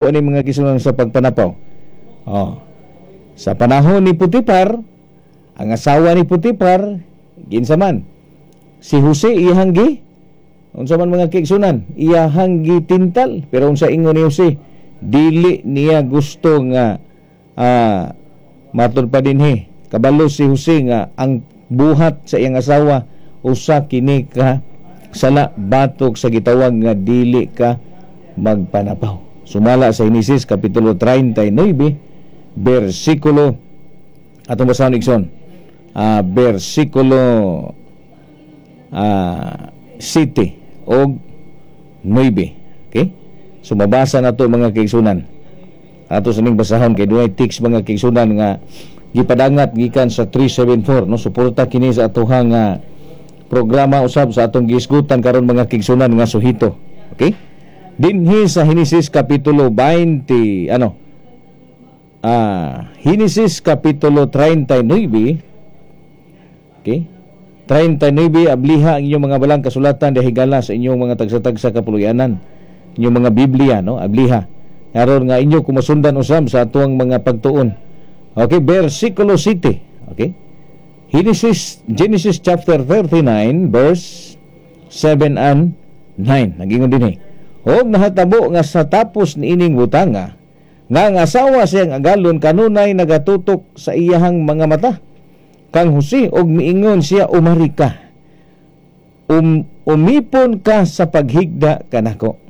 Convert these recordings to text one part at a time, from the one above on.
Ani, mga kaigsuonan, sa pagpanapaw. Oh. Sa panahon ni Putipar, ang asawa ni Putipar, ginsa man? Si Jose iyahang gi unsa man, mga kaigsuonan, iyahang gitintal. Pero unsa ingon ni Jose? Dili niya gusto nga matud pa dinhi. Kabalo si Jose nga ang buhat sa iyang asawa usa kini ka sala batok sa gitawag nga dili ka magpanapaw. Sumala sa Genesis kapitulo 39 bersikulo, atong basahon, igsoon, bersikulo 7 og 9. Okay? So mabasa na to, mga kaigsunan. Ato sa ning basahon kay dunay text, mga kaigsunan, nga gipadangat gikan sa 374, no? Suporta kini sa atohang programa usab sa atong gihisgutan karon, mga kaigsunan, nga suhito. Okay? Dinhi sa Genesis kapitulo 20, ano? Genesis kapitulo 39. Okay? 39, abliha ang inyong mga balang kasulatan dahigala sa inyong mga tagsa-tagsa kapuluyanan. Inyong mga Biblia, no? Abliha. Aron nga inyo kumasundan usab sa atuang mga pagtuon. Okay, versikulo 7. Okay? Genesis chapter 39 verse 7 and 9. Nagingon dinhi. Og nahatabo nga sa tapos niining butanga nga ang asawa siyang agalon kanunay nagatutok sa iyahang mga mata kang Jose og miingon siya, "Umari ka. Umipon ka sa paghigda kanako."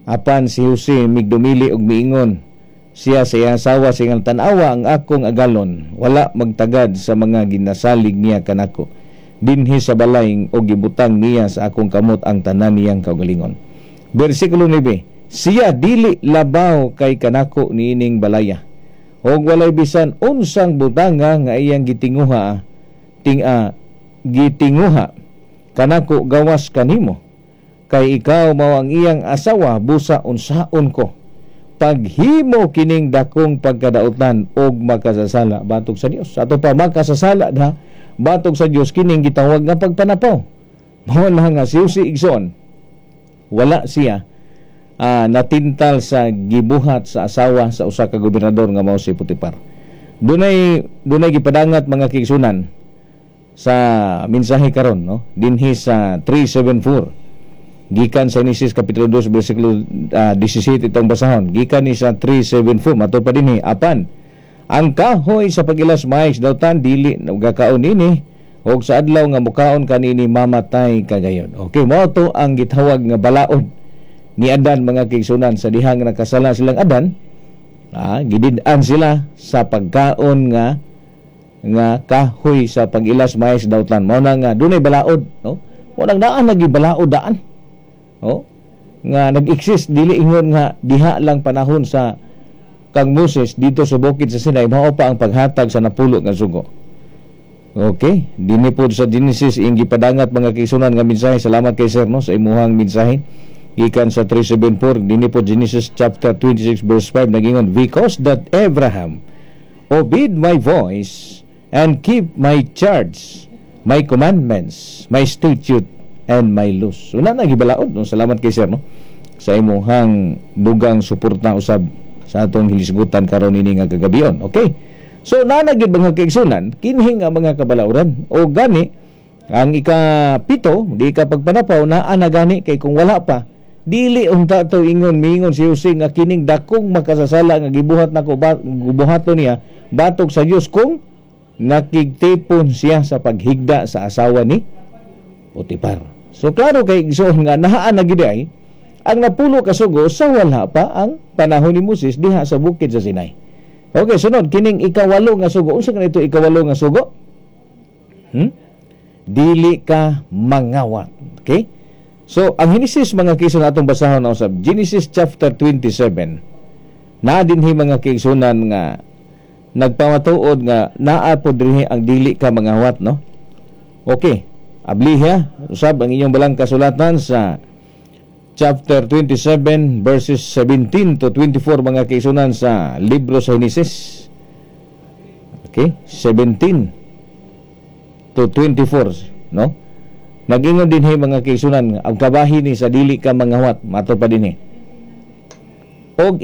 Apan si Jose migdumili og miingon siya sa iyang asawa siyang, "Tan-awa ang akong agalon wala magtagad sa mga ginasalig niya kanako dinhi sa balay og gibutang niya sa akong kamot ang tanan niyang kaugalingon." Versikulo 9. Siya dili labaw kay kanako niining balaya. Og walay bisan unsang butanga nga iyang gitinguha ting gitinguha kanako gawas kanimo, kay ikaw mao ang iyang asawa. Busa unsaon ko paghimo kining dakong pagkadautan og makasasala batok sa Dios? Ato pa, makasasala da batok sa Dios kining gitawag nga pagpanapaw. Mao lang nga si Jose, igsoon, wala siya natintal sa gibuhat sa asawa sa usa ka gobernador nga mao si Potifar. Dunay gipadangat, mga kaigsunan, sa mensahe karon, no, dinhi sa 374 gikan sa Genesis kapitulo 2 bersikulo 17 itong basahon gikan ni sa 374. Matud pa dinhi, apan ang kahoy sa pag-ilas maayos dautan, dili gakaon ini, og sa adlaw nga mukaon kanini, mamatay ka gayon. Okay, mao to ang gitawag nga balaod ni Adan, mga kaigsunan, sa dihang nakasala silang Adan, gidid-an sila sa pagkaon nga nga kahoy sa pag-ilas maayos dautan. Mao na nga dunay balaod, no? Mao nang daan lagi balaod daan. Oh, nga nag-exist, dili ingon nga diha lang panahon sa kang Moses dito sa bukid sa Sinai mao pa ang paghatag sa napulo nga sugo. Okay, dinhi pod sa Genesis ing gipadangat, mga kaigsunan, nga mensahe. Salamat kay sir, no, sa imuhang mensahe. Gikan sa 374 dinhi po Genesis chapter 26 verse 5, nagingon, "Because that Abraham obeyed my voice and keep my charge, my commandments, my statute and my laws." So na nagibalaod, no? Salamat kay sir, no, sa imuhang dugang suporta usab sa atong hilisgutan karon ini nga kagabion. Okay. So naa na gyud, mga kaigsunan, kinhi nga mga kabalauran. O gani ang ikapito, di ka pagpanapaw, naa na gani, kay kung wala pa, dili unta to ingon miingon si Jose nga kining dakong makasasala nga gibuhat nako gibuhaton niya batok sa Dios kung nakigtipon siya sa paghigda sa asawa ni Potifar. So klaro kay, igsoon, nga naa na gid ay ang napulo ka sugo sa wala pa ang panahon ni Moses diha sa bukid sa Sinai. Okay, sunod kining ikawalo nga sugo. Unsa kanito ikawalo nga sugo? Dili ka mangawat. Okay? So, ang Genesis, mga kaigsunan, atong basahon na usab, Genesis chapter 27. Naa dinhi, mga kaigsunan, nga nagpamatuod nga naa po dinhi ang dili ka mangawat, no? Okay. Abliha usab ang inyong balang kasulatan sa chapter 27 verses 17 to 24, mga kaigsunan, sa libro sa Genesis. Okay, 17 to 24, no? Nagingon dinhi, mga kaigsunan, ang kabahin ni sa dili ka mangawat, mato pa dinhi. Og